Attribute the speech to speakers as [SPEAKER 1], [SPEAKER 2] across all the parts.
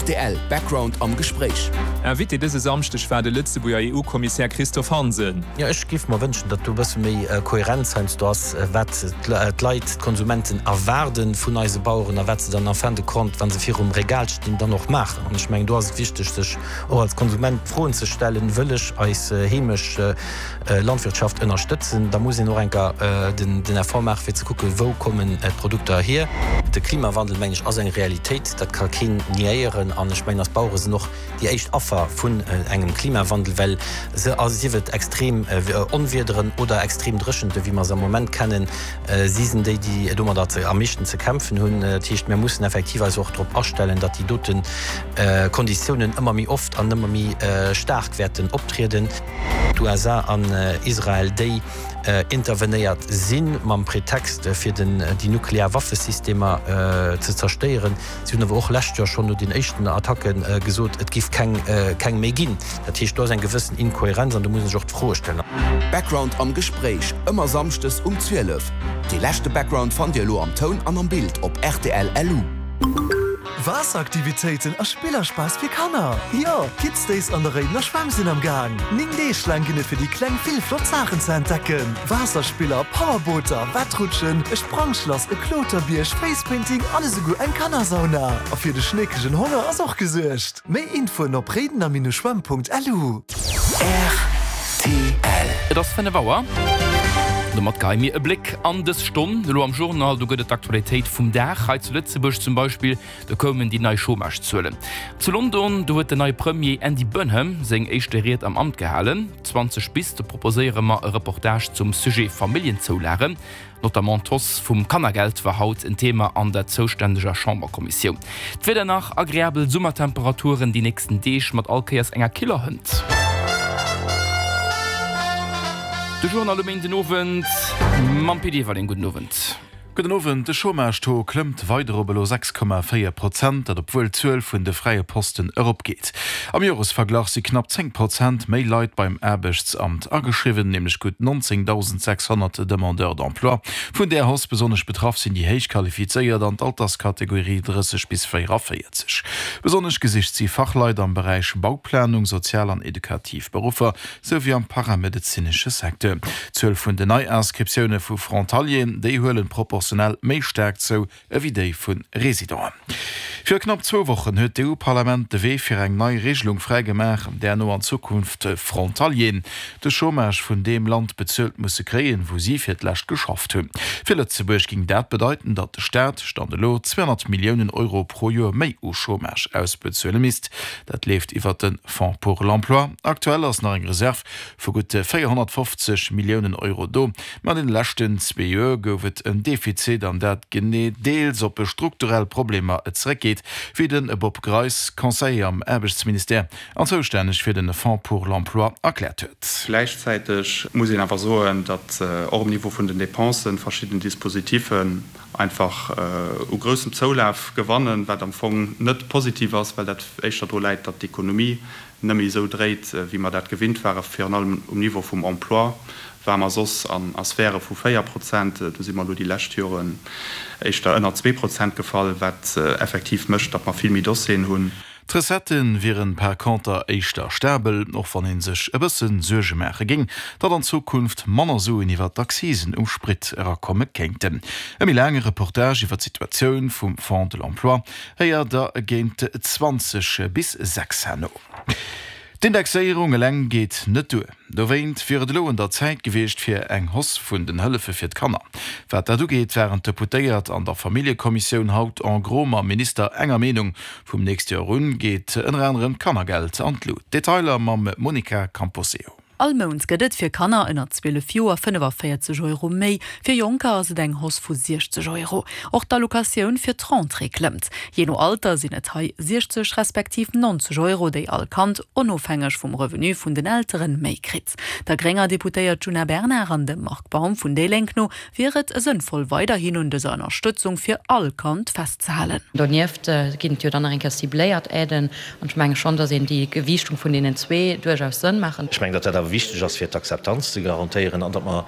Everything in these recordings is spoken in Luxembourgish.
[SPEAKER 1] Rtl Background am Gespréich.
[SPEAKER 2] Invité dëse Samschdeg war de Lëtzebuerger EU-Kommissär Christophe Hansen.
[SPEAKER 3] Jo, ech géif mer wënschen, datt do e bësse méi Kohärenz heiansdo ass, wat d'Leit, d'Konsumenten erwaarde vun eise Baueren a wat se dann en fin de compte, wa se virum Regal stinn, dann och maachen. An ech mengen, do ass et wichteg, sech och als Konsument d'Froen ze stellen, Wëll ech eis heemesch Landwirtschaft ënnerstëtzen, da muss een och enker den Effort maachen, fir ze kucken, wou kommen d'Produkter hier. De Klimawandel, mengen ech, ass eng Realitéit, dat ka keen niéieren. An ech mengen, eis Bauere sinn och déi éischt Affer vun engem Klimawandel, well se, sief et extrem Onwiederen oder extrem Dréchente wéi mer se am Moment kennen, si sinn déi, déi domadder am meeschten ze kämpfen hunn. Dat heescht, mir mussen effektiv eis och drop astellen, datt déi dote Konditiounen ëmmer méi oft an ëmmer méi staark wäerten optrieden. D'USA an Israel, déi intervenéiert si mam Pretext fir den déi nuklear Waffesystemer ze zerstéieren. Si hunn awer och lescht Joer schonn no den éischten Attacke gesot, et giff keng keng méi ginn. Dat heescht, do ass eng gewëssen Inkohärenz an do muss een sech och d'Froe stellen.
[SPEAKER 1] Background am Gespréich, ëmmer samschdes um 12. Dee leschte Background fannt Dir elo am Toun an am Bild op rtl LU.
[SPEAKER 4] Waasseraktivitéiten a Spillerspass fir Kanner! Jo, Kids Days an der Réidener Schwämm sinn am Gaang! 9 Deeg laang ginn et fir déi Kleng vill flott Saachen ze entdecken, Waasserspiller, Powerbooter, Wettrutschen, e Sprangschlass, e Kloterbierg, Facepainting an esouguer eng Kannersauna! A fir de schneekegen Honger ass och gesuergt! Méi Infoen op réidener-schwämm.lu.
[SPEAKER 5] Rtl.
[SPEAKER 6] Et ass 5 Auer. Domat geheie mir e Bléck an dës Stonn. Elo am Journal, do gëtt et d'Aktualitéit vum Dag. Hei zu Lëtzebuerg zum Beispill, do koumen déi nei Chômagezuelen. Zu London, do huet den neie Premier Andy Burnham seng éischte Ried am Amt gehalen. 20 bis, do proposéiere mer e Reportage zum Sujet Familljenzoulagen. Notamment d'Hausse vum Kannergeld war haut en Thema an der zoustänneger Chamberkommissioun. D'Wieder nach, Agreabel Summertemperaturen déi nächsten Deeg mat all Kéiers enger killer Hënt. De Journal um Méindenowend mam Pit Everling. Gudden Owend.
[SPEAKER 7] Gudden Owend. De Chômage-Taux klëmmt weider op elo 6,4 Prozent, dat obwuel d'Zuel vun de fräie Posten eropgeet. Am Joresverglach si knapp 10 Prozent méi Leit beim Aarbechtsamt ageschriwwen, nämlech gutt 19.600 Demandeurs d'emploi. Vun där Hausse besonnesch betraff sinn déi héich Qualifizéiert an d'Alterskategorie 30 bis 44. Besonnesch gesicht si Fachleit am Beräich Bauplanung, sozial an edukativ Beruffer, sou wéi am paramedezinesche Secteur. D'Zuel vun den Neiinscriptioune vu Frontalieren, déi huelen proportionell méi staark zou ewéi déi vu Residenten. Viru knapp zwou Wochen huet d'EU-Parlament de Wee fir eng nei Regelung fräigemaach, där no an Zukunft Frontalieren de Chômage vun deem Land bezuelt musse kréien, wou si fir d'lescht geschafft hunn. Fir Lëtzebuerg géing dat bedeiten, datt de Staat, Stand elo, 200 Milliounen Euro pro Joer méi u Chômage ausbezuele misst. Dat leeft iwwert de Fonds pour l'emploi. Aktuell ass nach eng Reserv vu gutt 450 Milliounen Euro do, ma an deene leschten zwee Joer gouf et en Defizit, an dat genee deels op strukturell Problemer zeréckgeet, wéi de Bob Greis, Conseiller am Aarbechtsministère an zoustänneg fir de Fonds pour l'emploi, erkläert huet.
[SPEAKER 8] Gläichzäiteg muss een awer soen, datt och um Niveau vun den Dépensen verschidden Dispositifen einfach u groussem Zoulaf gewannen, wat am Fong net positiv ass, well dat éischter dru läit, datt d'Ekonomie net méi esou dréit, wéi mer dat gewinnt waren. Virun allem um Niveau vum Emploi ware mer soss a Sphäre vu 4 Prozent, do si mer elo déi lescht Joren éischter ënner 2 Prozent gefall, wat effektiv mécht, datt mer vill méi Dossieren hunn.
[SPEAKER 7] D'Recettë wieren par conter éischter stabel, och wann ee sech e bësse Suerge maache géing, datt an Zukunft manner Suen iwwer d'Accisen um Sprit erakomme kéinten. E méi laange Reportage iwwer d'Situatioun vum Fonds de l'Emploi héiert der géint 20 bis 6 herno. D'Indexéierung eleng geet net duer. Dowéint wier et elo un der Zäit gewiescht fir eng Hausse vun den Hëllefe fir d'Kanner. Wat dat ugeet, waren d'Deputéiert an der Familljekommissioun haut en gros mam Minister enger Meenung. Vum nächste Joer un geet ënner anerem d'Kannergeld an d'Lut. Detailer mam Monica Camposeo.
[SPEAKER 9] All Mount gëtt et fir Kanner ënner 12 Joer 45 Euro méi, fir Jonker ass et eng Hausse vu 60 Euro. Och d'Allocatioun fir d'Rentrée klëmmt. Jee no Alter sinn et hei 60 respektiv 90 Euro, déi all Kand, onofhängeg vum Revenu vun den Elteren, méi kritt. Der grénger Deputéiert Djuna Bernard an dem Marc Baum vun déi Lénk no wier et sënnvoll weiderhin un dëser Ënnerstëtzung fir all Kand festzehalen.
[SPEAKER 10] Donieft ginn et jo dann nach eng Kéier cibléiert Aiden an ech menge schonn, datt een déi Gewiichtung vun deenen zwee duerchaus Sënn maachen.
[SPEAKER 11] Ech mengen, datt dat awer.
[SPEAKER 5] awer wichteg ass, fir d'Akzeptanz ze garantéieren, an datt mer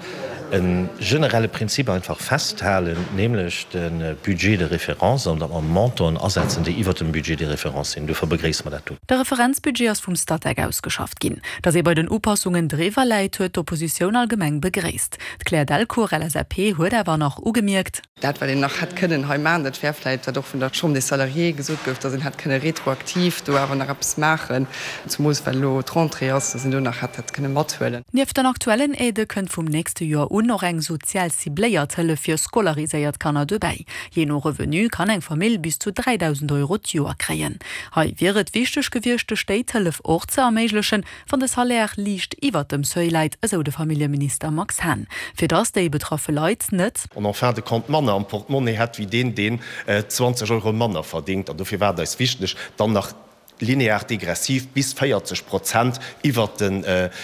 [SPEAKER 5] e generelle Prinzip einfach festhalen, nämlech de Budget de référence, an datt mer Montanten asetzen, déi iwwert dem Budget de référence sinn. Dofir begréisse mer dat do.
[SPEAKER 9] De Referenzbudget ass vum Statec ausgeschafft ginn. Datt ee bei den Upassungen driwwer läit, huet d'Oppositioun allgemeng begréisst. D'Claire Delcourt, LSAP, huet awer nach ugemierkt.
[SPEAKER 11] Dat, wat een nach hätt kënnen hei maachen, dat wär vläicht, wat och vun der Chambre des Salariés gesot gouf, datt een hätt kënne retroaktiv do awer nach eppes maachen, zumools well elo d'Rentrée ass, datt een do nach hätt dat kënne mathuelen.
[SPEAKER 9] Nieft den aktuellen Aidë kënnt vum nächste Joer un och eng sozial cibléiert Hëllef fir scolariséiert Kanner dobäi. Jee no Revenu kann eng Famill bis zu 3.000 Euro d'Joer kréien. Hei wier et wichteg gewiescht, de Stéit d'Hëllef och ze erméiglechen, Wann de Salaire liicht iwwert dem Seuil läit, esou de Familljeminister Max Hahn, fir datt déi betraffe Leit net.
[SPEAKER 12] En fin de compte manner am Portemonnaie hätt wéi deen, deen 20 Euro manner verdéngt. An dofir war et eis wichteg, dann nach linear degressiv bis 40 Prozent iwwert den,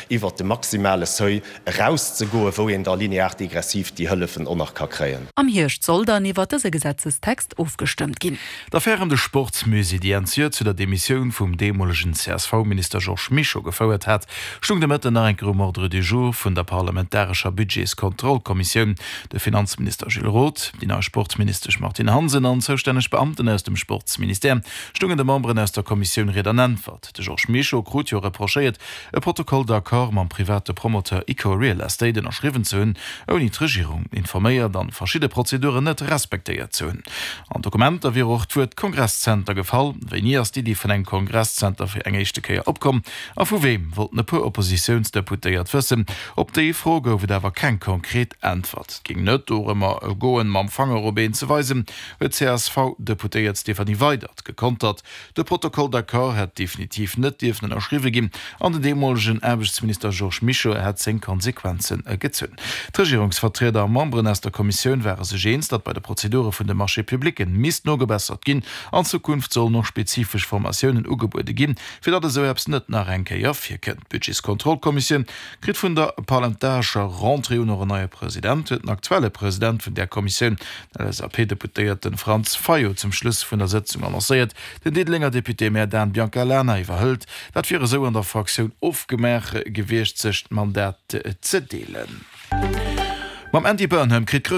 [SPEAKER 12] iwwert de maximale Seuil erauszegoen, wou een da linear degressiv déi Hëllefen och nach ka kréien.
[SPEAKER 9] Am Hierscht soll dann iwwert dëse Gesetzestext ofgestëmmt ginn.
[SPEAKER 7] D'Affär ëm de Sportsmusée, déi Enn d'Joer zu der Demissioun vum deemolegen CSV-Minister Georges Mischo gefouert hat, stung de Mëtten nach eng Kéier um Ordre du jour vun der parlamentarescher Budgetskontrollkommissioun. De Finanzminister Gilles Roth, déi nei Sportministesch Martine Hansen an zoustänneg Beamten aus dem Sportsministère stungen de Memberen aus der Kommissioun Ried an Äntwert. De Georges Mischo krut jo reprochéiert, e Protocole d'accord mam private Promoteur Ico Real Estate ënnerschriwwen ze hunn, ouni d'Regierung informéiert an verschidde Prozeduren net respektéiert ze hunn. An Dokumenter wier och d'Wuert Kongresszenter gefall. Wéini ass d'Iddi vun engem Kongresszenter fir eng éischte Kéier opkomm a vu weem, wollten e puer Oppositiounsdeputéiert wëssen. Op déi Fro gouf et awer keng konkret Äntwert. Et géing net dorëmmer goen, mam Fanger op een ze weisen, huet d'CSV-Deputéiert Stéphanie Weydert gekontert. De Protocole d'accord hätt definitiv net dierfen ënnerschriwwe ginn an den deemolegen Aarbechtsminister Georges Mischo hätt seng Konsequenze gezunn. D'Regierungsvertrieder a Memberen aus der Kommissioun ware sech eens, datt bei de Prozedure vun de Marchés publicen misst nogebessert ginn. An Zukunft sollen och spezifesch Formatiounen ugebuede ginn, fir datt esou eppes net nach eng Kéier virkënnt. D'Budgetskontrollkommissioun kritt vun der parlamentarescher Rentrée un och en neie President, huet den aktuelle President vun där Kommissioun, Den LSAP-Deputéierte Franz Fayot zum Schluss vun der Sëtzung annoncéiert, den Diddelenger Député-Maire Dan Biancalana iwwerhëlt. Dat wier esou an der Fraktioun ofgemaach gewiescht, sech d'Mandat ze deelen. Mam Andy Burnham kritt.